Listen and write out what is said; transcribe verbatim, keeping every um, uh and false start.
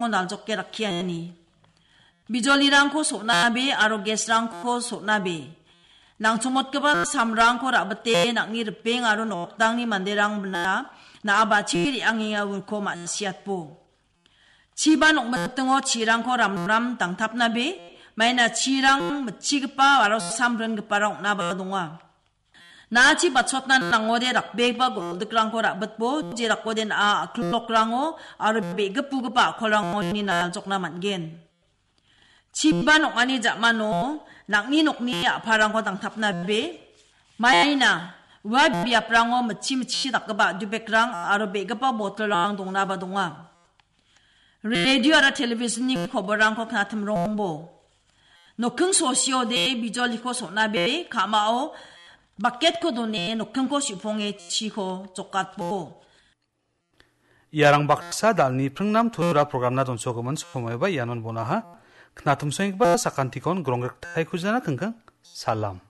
naljoke rakkiani. Bijolirangko so·nabe aro gas-rangko so·nabe. Nangchongmotgipa samrangko ra·bite nang·ni ripeng aro nokdangni manderangna na·a bachi re·angenga uko ma·siatbo. Chiba nokmitingo chirangko ramram dangtapnabe, maina chirang mitchigipa aro samringiparang ong·naba donga. Na·achi bachotna nangode rakbegipa goldikrangko ra·bitbo, jerakode na·a a·klokrango aro be·gipugipa a·kolrangoni naljokna man·gen. Chiba nokani ja·mano nang·ni nokni a·parangko dangtapnabe, maina ua biaprango mitchi mitchi dakgipa a·dubekrang aro be·gipa botolrang dongnaba donga. Radio aro television-ni koborrangko knatimrongbo. Nokking sosiode bijoliko so·nabe, ka·mao bucket-ko done nokkingko su·ponge chiko jokatbo. Iarang baksa dalni pringnam tura program-na donsogimin somoiba ianon bonaha. Knatimsoenggipa sakantikon grongriktaikujana kingking. Salam.